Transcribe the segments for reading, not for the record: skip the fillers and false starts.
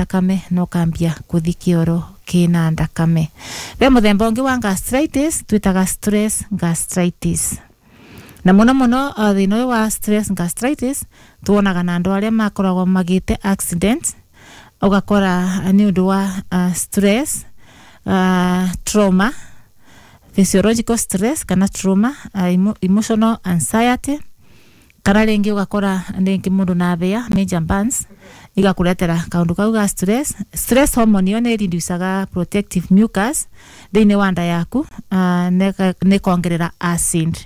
thakame na ũkambia kũthi kĩoro kĩna thakame. Be mũthemba ũngĩ wa gastritis twĩtaga stress gastritis, na mũno mũno thĩna ũyũ wa stress gastritis tuonaga na andũ arĩa makoragwo magĩte accident, ũgakora nĩ ũndũ wa stress, trauma, physiological stress kana trauma, emotional anxiety, kana rĩngĩ ũgakora rĩngĩ mũndũ na thĩa major burns igakuretera kaundu kau ga stress. Stress hormone ĩyo nĩ reducaga protective mucus thĩinĩ wa nda yaku, nĩ kongerera acid.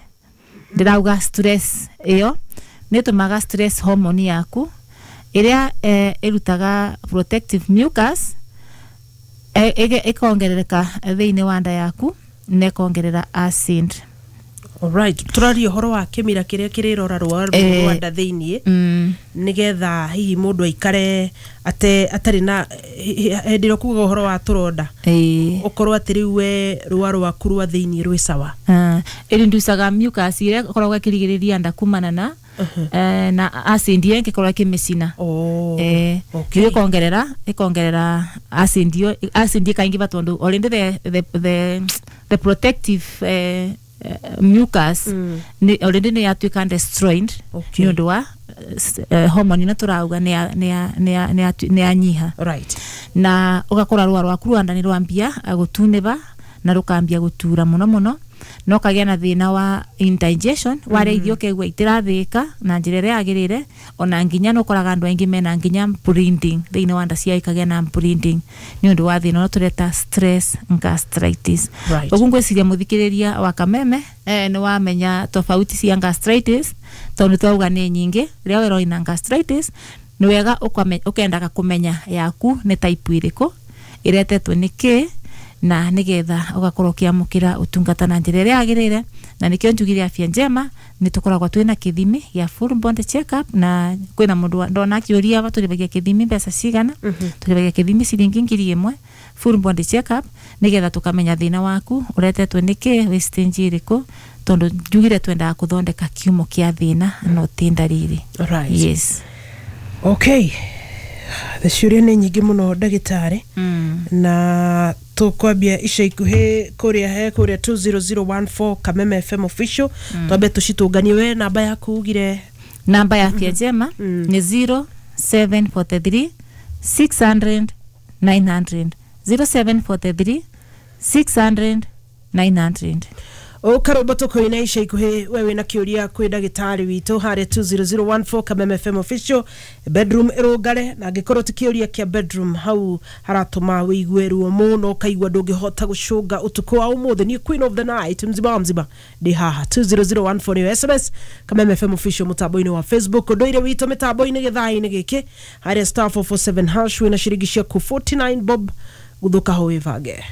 Ndĩrauga stress ĩyo nĩ ĩtũmaga stress hormone yaku ĩrĩa ĩrutaga protective mucus ĩkongerereka thĩinĩ wa nda yaku na ĩkongerera acid. Alright, tũraria ũhoro wa kĩmira kĩrĩa kĩrĩrora rũa rwa nda thĩiniĩ nĩgetha hihi mũndũ aikare ate atarĩ na hĩndĩ ĩrĩa ũkugaga ũhoro wa tũronda, ũkorwo atĩ rĩu we rũa rwaku rwa thĩiniĩ rwĩ sawa. Ĩrinducaga mucus ĩrĩa ĩkoragwo ĩkĩrigĩrĩria nda kumana na na acid ĩyo ĩngĩkorwo ĩkĩmĩcina. Oh, okay. Rĩu ĩkongerera acid ĩyo, acid ĩkaingĩva tondũ already the protective mucus nĩ already nĩ yatuĩka destroyed nĩ ũndũ wa hormone ĩno tũrauga nĩ yanyiha. Na ũgakora rũa rwaku rwa nda nĩ rwambia gũtunĩva na rũkambia gũtura mũno mũno, na ũkagĩa na thĩna wa indigestion, warĩa irio ũkaigua itirathĩĩka na njĩra ĩrĩa yagĩrĩire. Ona nginya nĩ ũkoraga andũ aingĩ mena nginya bleeding thĩinĩ wa nda ciao, ikagĩa na bleeding nĩ ũndũ wa thĩna ũrĩa tũreta stress gastritis. Ũguo ngwĩciria mũthikĩrĩria wa Kameme nĩ wamenya tofauti cia gastritis, tondũ twauga nĩ nyingĩ. Rĩrĩa werwo wĩna gastritis, nĩ wega ũkendaga kũmenya yaku nĩ type ĩrĩkũ, ĩretetwo nĩ kĩ, na nĩgetha ũgakorwo ũkĩamũkĩra ũtungata na njĩra ĩrĩa yagĩrĩire. Na nĩkĩo njugire Afya Njema nĩ tũkoragwo twĩna kĩthimi gĩa full body check up, na kwĩna mũndũ ndona akĩũria aba tũrĩhagia kĩthimi mbeca cigana. Tũrĩhagia kĩthimi ciringi 1,000, full body check up, nĩgetha tũkamenya thĩna waku ũretetwo nĩ kĩ, wĩ stage ĩrĩkũ, tondũ njugire twendaga kũthondeka kiumo kĩa thĩna no ti ndariri. Yes. Okay, ciũria nĩ nyingĩ mũno, ndagĩtarĩ, na tũkwambia ica ikuhĩ kũrĩa he kũrĩa 20014 Kameme FM official, twambe tũcitũnganie. We namba yaku ugire? Namba ya Afya Njema nĩ 0743 600 900, 0743 600 900. Ũkarũmba tũkũina ica ikuhĩ. We wĩna kĩũria kwĩ ndagĩtarĩ witũ harĩa 20014 Kameme FM official, bedroom ĩrũngare, na angĩkorwo ti kĩũria kĩa bedroom hau haratũma wĩigue ruo mũno, ũkaigua ndũngĩhota gũcũnga ũtukũ wa ũmũthĩ, niĩ queen of the night mzima wa mzima ndĩ haha. 20014 nĩyo SMS, Kameme FM official mũtambo-inĩ wa Facebook, ũndũire witũ mĩtambo-inĩ gĩthaa-inĩ gĩkĩ harĩa *447#, wĩna ciringi ciaku 49 bob, gũthũka ho wĩbange.